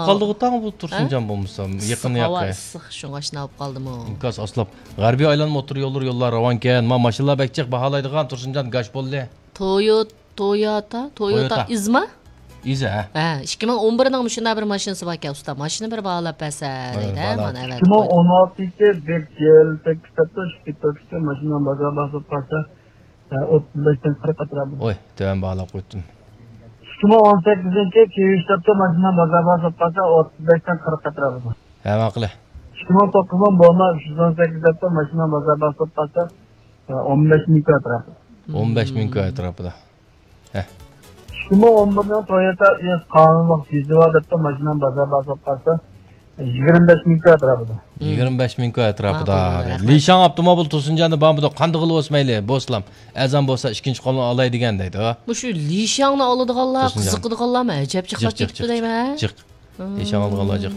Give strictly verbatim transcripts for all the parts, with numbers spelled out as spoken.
قالدىغۇ تاڭ بۇ تۇرسۇنجان بولمىسا، يېقىن ياقى. ئىسسىق، ھاۋا ئىسسىق، شۇڭا شۇنداق بولۇپ قالدىمۇ؟ ئىنكاس ئاسلاپ. غەربىي ئايلانما ئوتتۇرا يوللىرى، يوللار راۋانكەن. ما ماشىنىلار بەك جىق، باھالايدىغان تۇرسۇنجان گاش بولدى. تويوتا، تويوتا، تويوتا تويوتا. ئىزما؟ ئىزا، ھە. ھە، ئىككى مىڭ ئون بىرنىڭ مۇشۇنداق بىر ماشىنىسى باركەن، ئۇستا. ماشىنا بىر باھالاپ بەرسە، ھە، دەيدۇ، باھالاپ. مانا ئەۋەتىپ ئىككى مىڭ ئون ئالتىنچى بىر يىل تەكلىپ قىلىپتۇ، شۇ كېتىۋېتىپتۇ، ماشىنا بازار باسىپ قالسا، ھە، ئوتتۇز بەشتىن قىرىق ئەتراپىدا. ئوي، تۆۋەن باھالاپ قويۇپتۇ. ئىككى مىڭ ئون سەككىزىنچى كېيىن ئىشلەپتۇ، ماشىنا بازار باسىپ قالسا، ئوتتۇز بەشتىن قىرىق ئەتراپىدا. ھە، ماقۇل. ئىككى مىڭ توققۇز مىڭ بولما، ئۈچ يۈز ئون سەككىز دەپتۇ، ماشىنا بازار باسىپ قالسا، ئون بەش مىڭ ئەتراپىدا. ئون بەش مىڭ ئەتراپىدا. ھە. ئىككى مىڭ ئون بىرنىڭ تويوتا ئىز قانۇنلۇق يۈزى بار دەپتۇ، ماشىنا بازار باسىپ قالسا، يىگىرمە بەش مىڭ ئەتراپىدا. يىگىرمە بەش مىڭ ئەتراپىدا. ماقۇل، رەھمەت. لىشاڭ ئاپتوموبىل تۇرسۇنجاندا بارمىدۇ؟ قاندىغىلى بولسا مەيلى، بولسىلام. ئەرزان بولسا ئىككىنچى قولنى ئالاي دېگەن دەيدۇ. مۇشۇ لىشاڭنى ئالىدىغانلار، تۇرسۇنجان. قىزىقىدىغانلارمۇ ئەجەب جىق، جىق، جىق، جىق، دەيمەن. جىق. لىشاڭ ئالىدىغانلار جىق.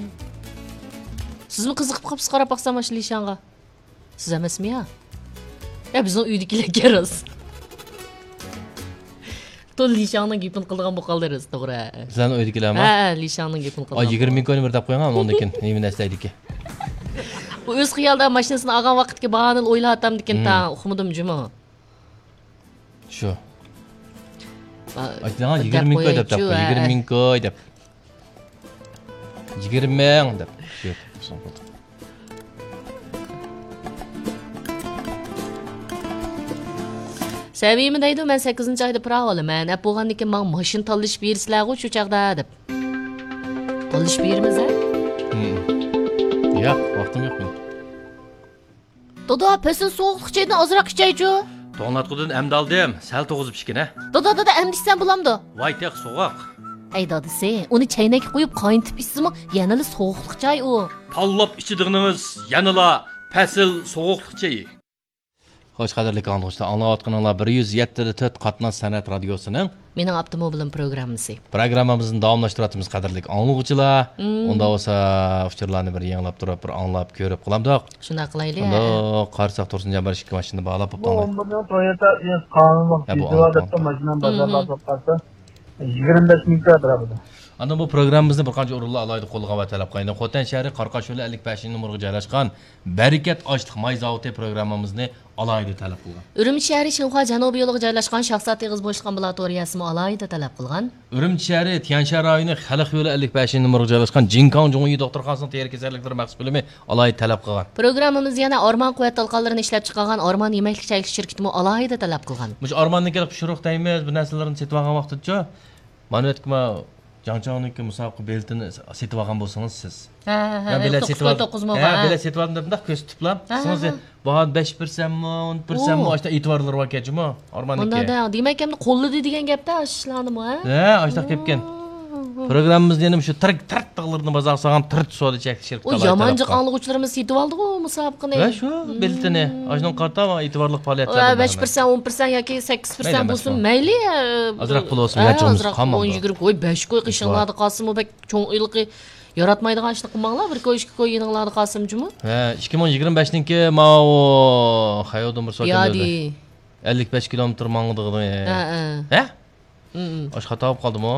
سىزمۇ قىزىقىپ قاپسىز، قاراپ باقسام مانا شۇ لىشاڭغا. سىز ئەمەسمۇ يا؟ يا، بىزنىڭ ئۆيدىكىلەرگە راست. تو لىشاڭنىڭ گېپىنى قىلىدىغان بولۇپ قالدى راست، توغرا. سىلەرنىڭ ئۆيدىكىلەرمۇ؟ ھە، ھە، لىشاڭنىڭ گېپىنى قىلىدىغان. ئاي، يىگىرمە مىڭ كوينى بىر دەپ قويۇڭ، ئۇنىڭدىن كېيىن نېمە نەرسە دەيدىكى؟ ئۇ ئۆز خىيالىدا ماشىنىسىنى ئالغان ۋاقىتتىكى باھانى ئويلاۋاتامدىكىن، تا ئۇقمىدىم جۇمۇ. شۇ. ئا، ئايتىدىغان دەپ يىگىرمە مىڭ كوي دەپ، قويايچۇ، ھە، يىگىرمە مىڭ كوي دەپ. يىگىرمە مىڭ دەپ. شۇ. سەمىمە دەيدۇ، مەن سەككىزىنچى ئايدا پىراۋ ئالىمەن. ئەپ بولغاندىن كېيىن ماڭا ماشىنا تاللىشىپ بېرىسىلەرغۇ شۇ چاغدا، دەپ. تاللىشىپ بېرىمىز، ھە؟ ھىم. ياق، ۋاقتىم يوق مېنىڭ. دادا، پەسىل سوغۇقلۇق چايدىن ئازراق ئىچەيچۇ. توڭلاتقۇدىن ئەمدى ئالدىم، سەل توغۇزۇپ ئىچكىنە. دادا، دادا، ئەمدى ئىچسەم بولامدۇ؟ ۋاي تېخى سوغۇق. ئەي دادىسى، ئۇنى چەينەككە قۇيۇپ قاينىتىپ ئىچسىمۇ يەنىلا سوغۇقلۇق چاي ئۇ. تاللاپ ئىچىدىغىنىڭىز يەنىلا پەسىل سوغۇقلۇق چېيى. خوش، قەدىرلىك ئاڭلىغۇچىلار، ئاڭلاۋاتقىنىڭلار بىر يۈز يەتتە دە تۆت قاتناش سەنئەت رادىيوسىنىڭ مېنىڭ ئاپتوموبىلىم پروگراممىسى. پروگراممىمىزنى داۋاملاشتۇرۇۋاتىمىز، قەدىرلىك ئاڭلىغۇچىلار. مم. ئۇنداق بولسا ئۇچۇرلارنى بىر يېڭىلاپ تۇرۇپ، بىر ئاڭلاپ كۆرۈپ قالامدۇق. شۇنداق قىلايلى، ھە. قارىساق، تۇرسۇنجان بىر ئىككى ماشىنا باھالاپ بوپتۇ. بۇ ئون بىرنىڭ تويوتا ئىز قانۇنلۇق ھە، بۇ يۈزى بار ئاڭلاپ دەپتۇ، ماشىنا بازار مم. باسىپ قالسا، يىگىرمە بەش مىڭ ئەتراپىدا. ئاندىن بۇ پروگراممىمىزنى بىر قانچە ئورۇنلار ئالاھىدە قوللىغان ۋە تەلەپ قىلغان. خوتەن شەھىرى قاراقاش يولى ئەللىك بەشىنچى نومۇرغا جايلاشقان بەرىكەت ئاشلىق ماي زاۋۇتى پروگراممىمىزنى ئالاھىدە تەلەپ قىلغان. ئۈرۈمچى شەھىرى شىنخۇا جەنۇبىي يولىغا جايلاشقان شاھزادە ئېغىز بوشلۇق ئامبۇلاتورىيەسىمۇ ئالاھىدە تەلەپ قىلغان. ئۈرۈمچى شەھىرى تيەنشان رايونى خەلق يولى ئەللىك بەشىنچى نومۇرغا جايلاشقان جىنكاڭ جۇڭيى دوختۇرخانىسىنىڭ تېرە كېسەللىكلىرى مەخسۇس بۆلۈمى ئالاھىدە تەلەپ قىلغان. پروگراممىمىز يەنە ئارمان قۇۋۋەت تالقانلىرىنى ئىشلەپچىقارغان ئارمان يېمەكلىك چەكلىك شىركىتىمۇ ئالاھىدە تەلەپ قىلغان. مۇشۇ ئارماندىن كېلىپ پىشۇرۇق دەيمىز، بۇ نەرسىلەرنى سېتىۋالغان ۋاقتىدىچۇ؟ مانا ئۆتكە ما جاڭچاڭنىڭكى مۇسابىقە بېلىتىنى سېتىۋالغان بولسىڭىز سىز. ھە، ھە، ھە، مەن بېلەت توققۇز سېتىۋالدىم. توققۇز مو، ھە، ھە. بېلەت سېتىۋالدىم دەپ مۇنداق كۆرسىتىپلا، ھە، سىڭىز ھە، ھە. باھانى بەش بىرسەممۇ، ئون بىرسەممۇ، ئاشتا ئېتىبارلىرى باركەن جۇمۇ، ئارماننىڭكى. مۇنداق دەڭ، دېمەك، ئەمدى قوللىدى دېگەن گەپتە ئاشۇ ئىشلارنىمۇ، ھە؟ ھە، ئاشتاق كەپكەن. پروگراممىمىزنى يەنە مۇشۇ تىرىك تىرىق تاغلىرىنى بازارغا سالغان تىرىت سودا چەكلىك شىركىتى ئۇ ئالاھىدە يامان تەلەپ جىق قىلغان. ئاڭلىغۇچىلىرىمىز سېتىۋالدىغۇ مۇسابىقىنى. ۋە شۇ بېلىتىنى، ئاشۇنىڭغا قارىتا ئېتىبارلىق پائالىيەتلەر ۋە بەش پىرسەنت، ئون پىرسەنت ياكى سەككىز پىرسەنت مەيلى، بولسۇن، ئەمەسمۇ. مەيلى، ئازراق پۇل بولسۇن، ھە، ھېچ بولمىسا ئازراق قالمامدۇ. ئون يىگىرمە، ۋاي، بەش كوي قېشىڭلاردا قالسىمۇ بەك چوڭ ھېلىقى ياراتمايدىغان ئىشنى قىلماڭلار، بىر كوي، ئىككى كوي يېنىڭلاردا قالسىمۇ جۇمۇ. ھە، ئىككى مىڭ يىگىرمە بەشنىڭكى ماۋۇ خەييۇدىن بىر سوئال كەلدى. يادى. ئەللىك بەش كىلومېتىر ماڭىدىغىنى. ھە، ھە. ھە؟ ئاشۇ خاتا بولۇپ قالدىمۇ؟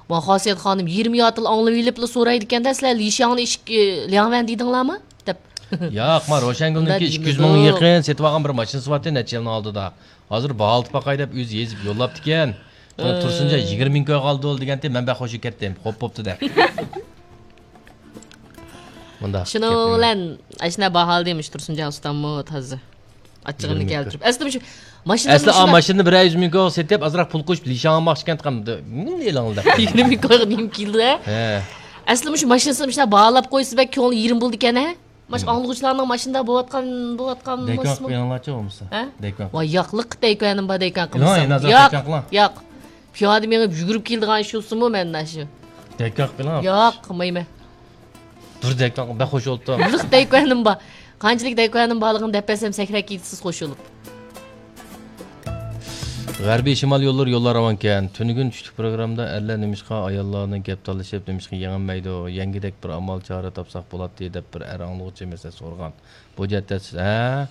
ما خاسىيەت خانىم يىگىرمە ياتىل ئاڭلىۋېلىپلا سورايدىكەن-دە، سىلەر لىشياڭنى ئىشىك، ئى، لياڭۋەن دېدىڭلارمۇ؟ دەپ. ياق، ما روشەنگۈلنىڭكى ئىككى يۈز مىڭغا يېقىن سېتىۋالغان بىر ماشىنىسى بارتى، نەچچە يىلنىڭ ئالدىدا. ھازىر باھالىتىپ باقاي دەپ ئۆزى يېزىپ يوللاپتىكەن. مانا تۇرسۇنجان يىگىرمە مىڭ كويغا ئالدى دېگەنتى، مەن بەك خوش بولۇپ كەتتىم. خوپ بوپتۇ دەپ. مۇنداق شۇنىڭ بىلەن ئاشۇنداق باھالىدى مۇشۇ تۇرسۇنجان ئۇستاممۇ تازا. ئاچچىقىمنى كەلتۈرۈپ. ئەسلى مۇشۇ ماشىنا ئەسلى ئا ماشىنىنى بىر يۈز مىڭ كويغا سېتىپ، ئازراق پۇل قوشۇپ، لىشاڭ ئالماقچىكەن، نېمە ئېلىڭ دەپ. يىگىرمە مىڭ كويغا نېمە كېلىدۇ، ھە؟ ھە. ئەسلى مۇشۇ ماشىنىسىنى مۇشۇنداق باھالاپ قويسا بەك كۆڭلى يېرىم بولىدىكەن، ھە؟ ماشۇ ئاڭلىغۇچىلارنىڭ ماشىنىدا بولۇۋاتقان، بولۇۋاتقان دەيكان قىلىپ قويۇڭلارچۇ بولمىسا. ھە؟ دەيكان. ۋاي، ياقلىق دەيكانىم بار، دەيكان قىلمىسام. ياق، ياق. پىيادە مېڭىپ يۈگۈرۈپ كېلىدىغان ئىش بولسىمۇ مەن ئاشۇ. دەيكان قىلىڭ. ياق، قىلمايمەن. بىر دەيكان بەك خوش بولۇپتۇ. لىق دەيكانىم بار. قانچىلىك دەيكانىم بارلىقىنى دەپ بەرسەم سەكرەپ كېتىسىز قوشۇلۇپ. غەربىي شىمال يوللىرى يوللار راۋانكەن. تۈنۈگۈن چۈشلۈك پروگراممىدا ئەرلەر نېمىشقا ئاياللارنى گەپ تالىشىپ، نېمىشقا يېڭەلمەيدۇ؟ يەڭگۈدەك بىر ئامال چارە تاپساق بولاتتى، دەپ بىر ئەر ئاڭلىغۇچى مەسىلە سورىغان. بۇ جەھەتتە سىز، ھە؟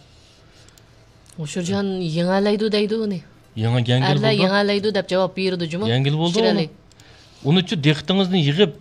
ھوشۇرجان يېڭەلەيدۇ دەيدۇ ئۇنى. يېڭە-، يەڭگىل ئەرلەر بولدى. يېڭەلەيدۇ دەپ جاۋاب بېرىدۇ جۇمۇ. يەڭگىل بولدى ئۇنى. ئۇنىچۇ دىققىتىڭىزنى يىغىپ،